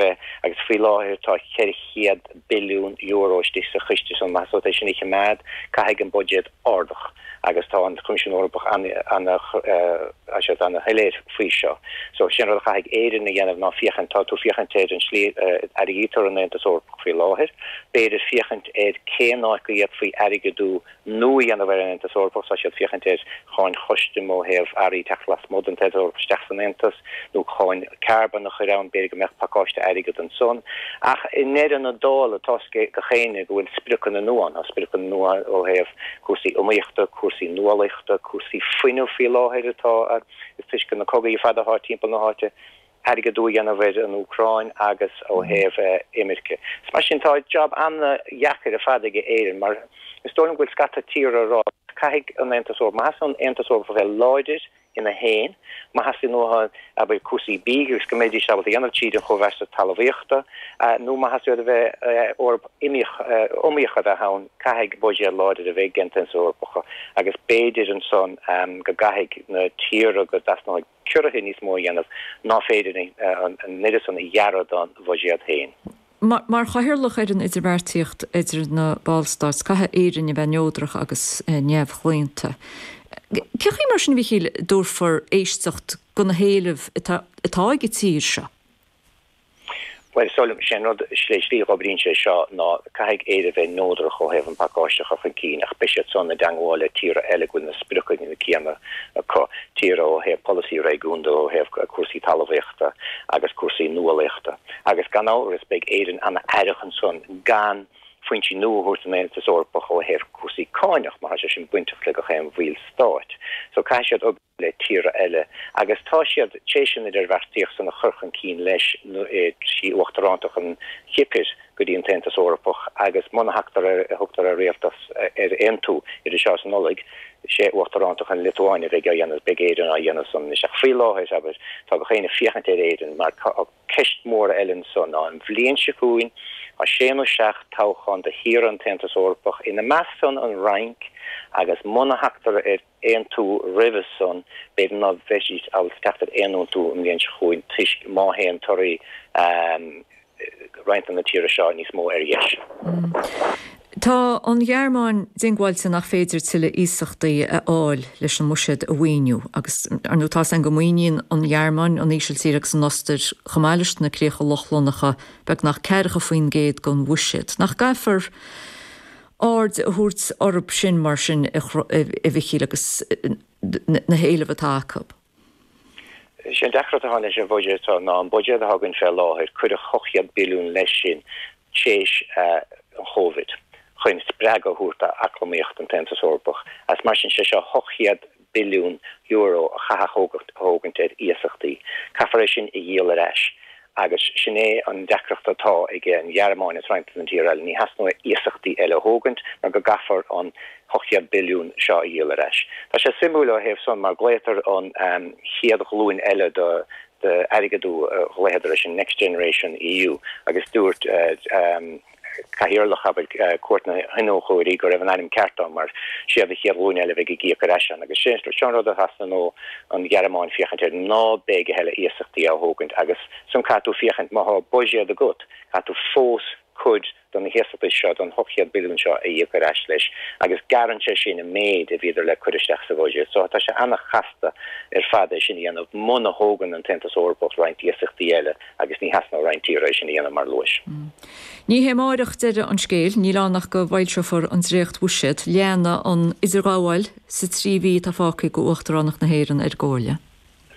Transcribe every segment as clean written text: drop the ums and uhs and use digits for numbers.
Agus faoi láthair tá €400 billiún istigh sa chiste san. Má theastaíonn uait é sin a choimeád, caithfidh an buidéad ardach agus tá an Coimisiún Eorpach ana-shoiléir faoi seo. So sin rud a chaithfidh Éirinn a dhéanamh ná féachaint, tá tú féachaint ar an slí a airgeadaítear an Aontas Eorpach faoi láthair, b'fhéidir féachaint ar cén áit go bhféadfaí airgeadú nua a dhéanamh ar an Aontas Eorpach. Tá siad ag féachaint ar cháin chustaim ó thaobh earraí teacht lasmuigh den Aontas Eorpach isteach san Aontas, nó cáin carbón a chur ann, b'fhéidir go mbeadh pacáiste airgid ansan. Ach i ndeireadh na dála, tá 'fhios ag gach éinne go bhfuil spriocanna nua ann. Tá spriocanna nua ó thaobh cúrsaí iomaíochta, cúrsaí nuálaíochta, cúrsaí fuinnimh faoi láthair atá, is toisc na cogaí ar fad atá timpeall na háite. airgeadú a dhéanamh ar an Úcráin agus ó thaobh imirce. Is mar sin, tá jab an-dheacair ar fad ag Éirinn mar is dóigh liom go bhfuil scata tíortha ag rá caithfidh an Aontas Eorpach, má theastaíonn ón Aontas Eorpach a bheith láidir ina fhéin, má theastaíonn uathu abair cúrsaí bídh agus go mbeidís ábalta a dhéanamh tríd an chomhbheartas talmhaíochta nó má theastaíonn uathu a bheith Eoraip iomaíoch a bheith ann, caithfidh buiséad láidir a bheith ag an Aontas Eorpach agus b'fhéidir ansan go gcaithfidh na tíortha go dteastóidh ciorruithe níos mó a dhéanamh ná féidir an oiread san a ghearradh dá mbuiséad féin. Mar chathaoirleach ar an idirbheartaíocht idir na Ballstáit, caithfidh Éirinn a bheith neodrach agus neamhchlaonta. Cén chaoi mar sin, a Mhíchíl, a dtabharfar éisteacht do na héilimh atá ag an tír seo? Bhuel, is dóigh liom, sé an rud, slí a dh'oibríonn sé seo ná caithfidh Éire bheith neodrach ó thaobh an pacáiste a chur chun cinn ach beidh siad san i dteangmháil le tíortha eile go bhfuil na spriocanna céanna acu, tíortha ó thaobh polasaí réigiúnda, ó thaobh cúrsaí talmhaíochta agus cúrsaí nuálaíochta. Agus gan amhras beidh Éirinn an-aireach ansan gan foinsí nua a thabhairt don Aontas Eorpach ó thaobh cúrsaí cáineach mar tá sé sin bainteach le gach aon bhall stáit. So caithfidh siad oibriú. le tíortha eile agus tá siad tar éis an idirbheartaíocht san a chur chun cinn leis trí uachtarántacht an Chipir go dtí an tAontas Eorpach agus muna thagtar ar thugtar ar rialtas ar aontú idir seo is an Nollaig, sé uachtarántacht an Liotuáin a bheidh á dhéanamh, beidh Éirinn á dhéanamh san anois. Ach faoi láthair, abair, tá gach éinne ag féachaint ar Éirinn mar tá ceist mhór eile ansan ná an bhliain seo chugainn tá sé nó seacht toghchán do thíortha an tAontas Eorpach, ina measc san an Fhrainc agus muna thagtar ar aontú roimhe san, b'fhéidir ná beidís ábalta teacht ar aon aontú an bhliain seo chugainn toisc má théann torthaí roinnt de na tíortha seo níos mó ar dheis. Tá an Ghearmáin diongbháilte nach féidir tuilleadh iasachtaí a fháil leis an mbuiséad a mhaoiniú agus, ar ndóigh, tá 's againn go maoiníonn an Ghearmáin, an Ísiltír agus an Ostair, chomh maith leis na Críocha Lochlannacha, beagnach 40% den bhuiséad. Nach gcaithfear aird a thabhairt orthu sin mar sin, a Mhichíl, agus na héilimh atá acu. Is é an deacracht atá leis an bhuiséad seo ná an buiséad atá againn fé láthair, cuireadh 800 billiún leis sin tar éis an Chóivid chun spreagadh a thabhairt d'eacnamaíocht an tAontas Eorpach agus mar sin sé seo 800 billiún euro a chaithfear a thógaint ar iasachtaí. Caithfear é sin a dhíol ar ais agus sin é an deacracht atá ag an Ghearmáin agus roinnt de na tíortha eile, ní theastóidh iasachtaí eile a thógaint mar go gcaithfear an 800 billiún seo a dhíol ar ais. Tá sé suimiúil ó thaobh san mar glaotar an chéad ghlúin eile de d'airgeadú a ghlaodar air sin Next Generation EU agus dúirt cathaoirleach, abair, Cúirt na hIniúchóirí go raibh an ainm ceart ann mar siad an chéad ghlúin eile a bheidh ag íoc ar ais ann agus sin seo an rud a theastaíonn ó an Ghearmáin féachaint air ná beidh a thuilleadh iasachtaí á thógaint agus san caithfidh tú féachaint má tá buiséad agat caithfidh tú fós cuid de na hiasachtaí seo, den 800 billiún seo a íoc ar ais leis agus gearrann sé sin an méid a bhíodar le cur isteach sa bhuiséad. So tá sé an-chasta ar fad é sin a dhéanamh muna thógann an tAontas Eorpach roinnt iasachtaí eile agus ní theasnóidh roinnt tíortha é sin a dhéanamh mar luais. Ní hé amáireach deireadh an scéil, níl ann ach go bhfoilseofar an dréacht-bhuiséad. Leanfaidh an idirghabháil sa trí mhí atá fágtha ag Uachtaránacht na hÉireann ar an gComhairle.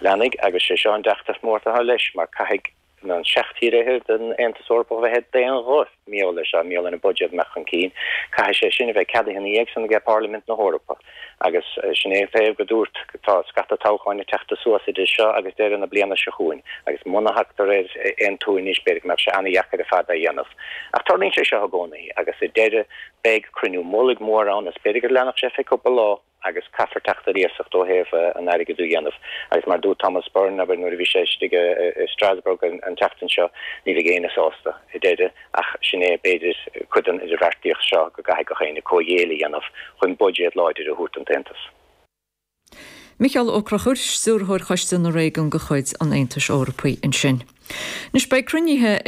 Leanfaidh, agus sé seo an deacracht mór atá leis, mar caithfidh na seacht tír fhichead den Aontas Eorpach a bheith d'aon ghuth mar gheall air seo, mar gheall ar an buiséad amach chun cinn. Caithfidh sé sin a bheith ceadaithe ina dhiaidh san aige Parlaimint na hEorpa. Agus sin é an taobh go dúirt, tá scata toghcháin ag teacht suas idir seo agus deireadh na bliana seo chugainn, agus muna thagtar ar aontú anois, b'fhéidir go mbeadh sé an-dheacair ar fad é a dhéanamh. Ach tarlaíonn sé seo i gcónaí, agus sa deireadh beidh cruinniú mullaigh mór ann, is b'fhéidir go leanfadh sé feadh cúpla lá. agus caithfear teacht ar iasacht ó thaobh an airgead a dhéanamh. Agus mar a dúirt Thomas Byrne, abair, nuair a bhí sé istigh i Strasbourg an tseachtain seo, ní bheidh éinne sásta i deireadh, ach sin é, b'fhéidir, cuid den idirbheartaíocht seo go gcaithfidh gach éinne comhghéilleadh a dhéanamh chun buiséad láidir a thabhairt don tAontas. Micheál Ó Conchúir, Stiúrthóir Choiste na Réigiún de chuid an Aontais Eorpaigh ansin. Anois beidh cruinnithe ag.